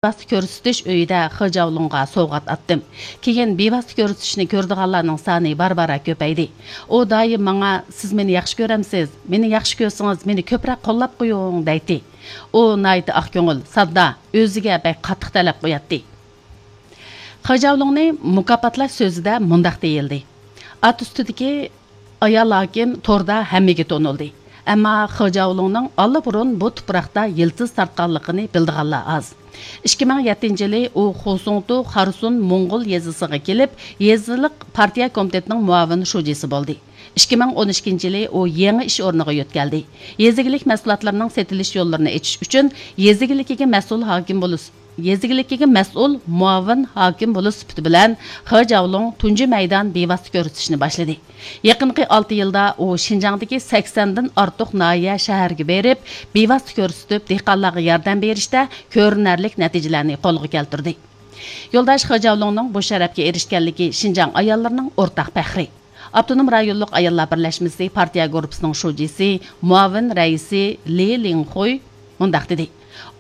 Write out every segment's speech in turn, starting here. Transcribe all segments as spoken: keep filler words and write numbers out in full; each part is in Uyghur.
بىۋاسىتە كۆرسىتىش ئۆيىدە خې جاۋلۇڭغا سوۋغات ئاتتىم. كېيىن بىۋاسىتە كۆرسىتىشنى كۆرىدىغانلارنىڭ سانى بارا-بارا كۆپەيدى. ئۇ دائىم ماڭا، «سىز مېنى ياخشى كۆرەمسىز؟ مېنى ياخشى كۆرسىڭىز، مېنى كۆپرەك قوللاپ قويۇڭ» دەيتتى. ئۇ ناھايىتى ئاق كۆڭۈل، ساددا، ئۆزىگە بەك قاتتىق تەلەپ قوياتتى. خې جاۋلۇڭنى مۇكاپاتلاش سۆزىدە مۇنداق دېيىلدى: ئات ئۈستىدىكى ئايال ھاكىم توردا ھەممىگە تونۇلدى. ئەمما خې جاۋلۇڭنىڭ ئاللىبۇرۇن بۇ تۇپراقتا يىلتىز تارتقانلىقىنى بىلىدىغانلار ئاز. ئىككى مىڭ يەتتىنچى يىلى ئۇ خۇسۇڭتۇ خارسۇن موڭغۇل يېزىسىغا كېلىپ، يېزىلىق پارتىيە كومىتېتىنىڭ مۇئاۋىن شۇجىسى بولدى. ئىككى مىڭ ئون ئىككىنچى يىلى ئۇ يېڭى ئىش ئورنىغا يۆتكەلدى. يېزا ئىگىلىك مەھسۇلاتلىرىنىڭ سېتىلىش يوللىرىنى ئېچىش ئۈچۈن يېزا ئىگىلىكىگە مەسئۇل ھاكىم بولۇش، يېزا ئىگىلىكىگە مەسئۇل مۇئاۋىن ھاكىم بولۇش سۈپىتى بىلەن خې جاۋلۇڭ تۇنجى مەيدان بىۋاسىتە كۆرسىتىشنى باشلىدى. يېقىنقى ئالتە يىلدا ئۇ شىنجاڭدىكى سەكسەندىن ئارتۇق ناھىيە، شەھەرگە بېرىپ، بىۋاسىتە كۆرسىتىپ، دېھقانلارغا ياردەم بېرىشتە كۆرۈنەرلىك نەتىجىلەرنى قولغا كەلتۈردى. يولداش خې جاۋلۇڭنىڭ بۇ شەرەپكە ئېرىشكەنلىكى شىنجاڭ ئاياللىرىنىڭ ئورتاق پەخرى. ئاپتونوم رايونلۇق ئاياللار بىرلەشمىسى پارتىيە گۇرۇپپىسىنىڭ شۇجىسى، مۇئاۋىن رەئىسى لى لىڭخۇي مۇنداق دېدى: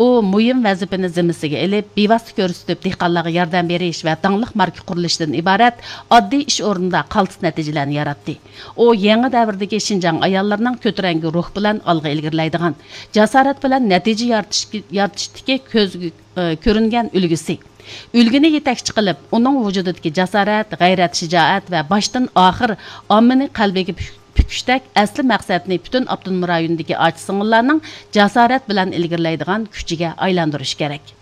ئۇ مۇھىم ۋەزىپىنى زىممىسىگە ئېلىپ، بىۋاسىتە كۆرسىتىپ، دېھقانلارغا ياردەم بېرىش ۋە داڭلىق ماركا قۇرۇلۇشىدىن ئىبارەت ئاددىي ئىش ئورنىدا قالتىس نەتىجىلەرنى ياراتتى. ئۇ يېڭى دەۋردىكى شىنجاڭ ئاياللىرىنىڭ كۆتۈرەڭگۈ روھ بىلەن ئالغا ئىلگىرىلەيدىغان، جاسارەت بىلەن نەتىجە يارىتىش، يارىتىشتىكى كۆزگە، ئى، كۆرۈنگەن ئۈلگىسى. ئۈلگىنى يېتەكچى قىلىپ، ئۇنىڭ ۋۇجۇدىدىكى جاسارەت، غەيرەت، شىجائەت ۋە باشتىن ئاخىر ئاممىنى قەلبىگە پۈك-، پۈكۈشتەك ئەسلى مەقسەتنى پۈتۈن ئاپتونوم رايوندىكى ئاچا-سىڭىللارنىڭ جاسارەت بىلەن ئىلگىرىلەيدىغان كۈچىگە ئايلاندۇرۇش كېرەك.